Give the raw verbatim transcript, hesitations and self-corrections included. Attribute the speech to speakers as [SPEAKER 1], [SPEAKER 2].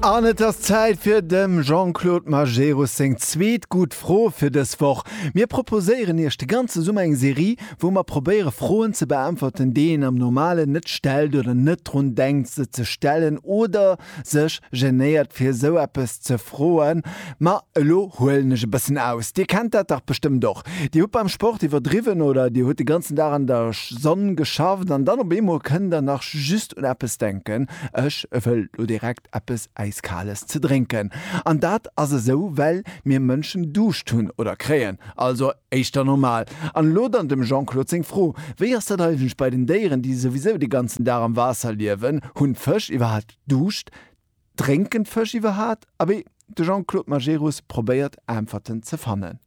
[SPEAKER 1] An et ass Zäit fir dem Jean-Claude Majerus seng zweet gutt Fro fir dës Woch. Mir proposéieren Iech de ganze Summer eng Serie, wou mer probéiere Froen ze beäntwerten, déi een am Normalen net stellt oder net drun denkt se ze stellen oder sech genéiert fir esou eppes ze froen. Ma elo huelen ech e bëssen aus. Dir kennt dat dach bestëmmt och. Dir hutt beim Sport iwwerdriwwen oder Dir hutt de ganzen Dag an der Sonn geschafft an dann op eemol kënnt der nach just un eppes denken, Ech wëll lo direkt eppes Äiskales ze drénken. An dat ass esou, well mir Mënschen Duuscht hunn oder kréien. Also éischter normal. An elo dann dem Jean-Claude seng Fro, Wéi ass dat eigentlech bei den Déieren, déi souwisou de ganzen Dag am Waasser liewen? Hunn d'Fësch iwwerhaat Duuscht? Drénken d'Fësch iwwerhaat? Abee, de Jean-Claude Majerus probéiert Äntwerten ze fannen.